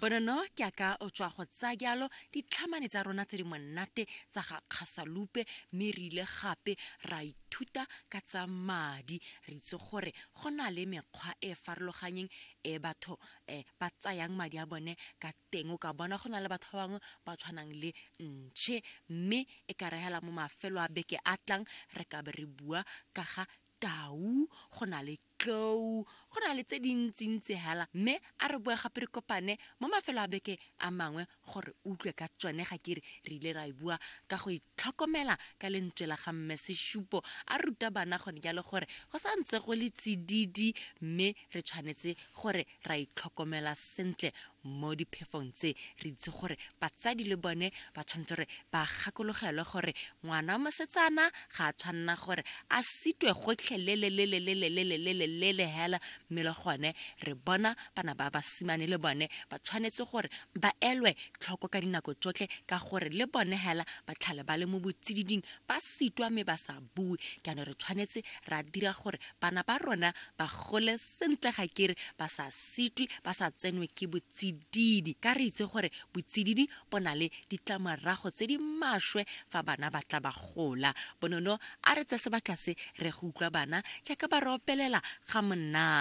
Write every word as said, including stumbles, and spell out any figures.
Bonono ke aka o tswa go tsaya jalo ditlhamane tsa rona tse di monate tsa ga Kgasalupe, mme re ile gape ra ithuta ka tsa madi. Re itse gore go na le mekgwa e e farologanyeng e batho um ba tsayang madi a bone ka teng. O ka bona go na le batho ba bangwe ba tshwanang le ntšhe, mme e ka re hela mo mafelo a beke a tlang re ka be re bua ka ga tau, go na le tlou, go na le tse dintsintsi hela. Mme a re boe gape re kopane mo mafelo a beke a mangwe gore utlwe ka tsone. Ga ke re re ile ra e bua ka go itlhokomela ka lentswe la ga mme Seshupo a ruta bana gone jalo gore go sa ntse go le tsididi, mme re tshwanetse gore ra itlhokomela sentle mo diphefong tse. Re itse gore batsadi le bone ba tshwanetse gore ba gakologelwe gore ngwana wa mosetsana ga a tshwanna gore a sitwe gotlhelelelelelelelelelele hela, mme le gone re bona bana ba basimane le bone ba tshwanetse gore ba elwe tlhoko ka dinako tsotlhe, ka gore le bone hela ba tlhale ba le mo botsididing ba sitwa mme ba sa bue. Jaanong re tshwanetse ra dira gore bana ba rona ba gole sentle, ga kere ba sa sitwe, ba sa tsenwe ke botsididi, ka re itse gore botsididi bo na le ditlamorago tse di maswe fa bana ba tla ba gola. Bonono a re tse sebaka se re go utlwa bana jaaka ba re opelela ga monate.